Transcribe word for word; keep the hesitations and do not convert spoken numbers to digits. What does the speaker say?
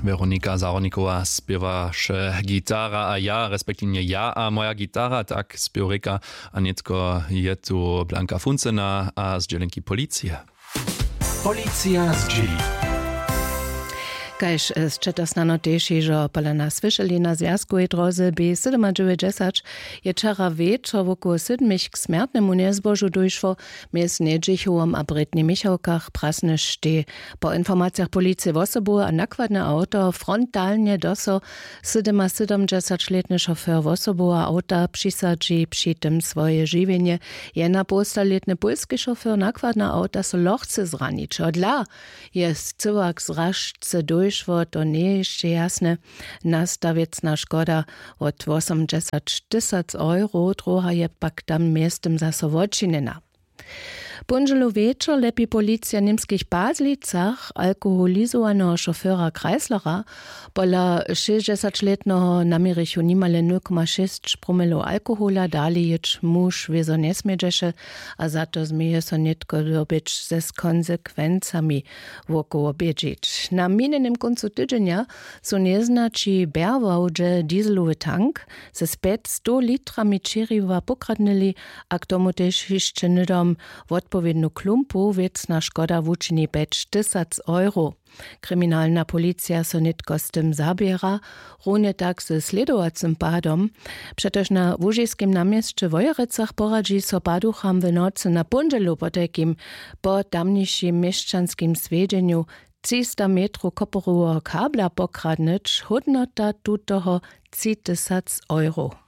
Weronika Zahornikowa spěwaše gitara a ja respektiwnje ja a moja gitara, tak spěwrěka. A nětko je tu Blanka Funcena a zdźělenki policije. Policija zdźěli. Kaž sće to snano tež hižo pola nas słyšeli na zwjazkowej dróze b sydomadźewjećdźesać, je wčera wječor wokoło sydmich k smjertnemu njezbožu dóšło. Mjez njedźichowom a brětnje michałkach prasnyštej. Po informacijach policije wosobowe a nakładne awto frontalnje doso sydymasydomdźesaćlětny šofér wosoboweho awta přisadźi při tym swoje žiwjenje. Jenapołstalětny pólski šofér nakładneho awta so lochce zranić hodla. Je scyłak zražce dóšło to njeje hišće jasne. Nasta wěcna škoda wot wosomdźesać tysac euro, druha je pak tam mjeztym zaso wočinjena. Póndźelu wječor lepi policija w němskich pazlicach alkoholizowaneho šoféra kreislera. Pola šěsćdźesaćlětneho naměrichu nimale nul koma šěsć promilow alkohola dali jěć muž wězo njesmědźeše. A za to změje so nětko dobyć ze z konsekwencami wokoło bědźić na minjenym kóncu tydźenja su njeznaći bjerwałdźe dieselowy tank z pjećstow litrami čěriwa pokradnyli. A k tomu tež hišće hnydom wotpowědnu klumpu wěcna škoda wučini pjećtysac euro. Kriminalna policija so nětko z tym zaběra, runje tak ze slědowacym padom. Přetož na łužiskim na měsće w wojerecach poradźi so paducham w nocy na póndźelu potajkim po tamnišim měšćanskim swjedźenju třista metrow koporoweho kabla pokradnyć hódnota tutoho tři tysac euro.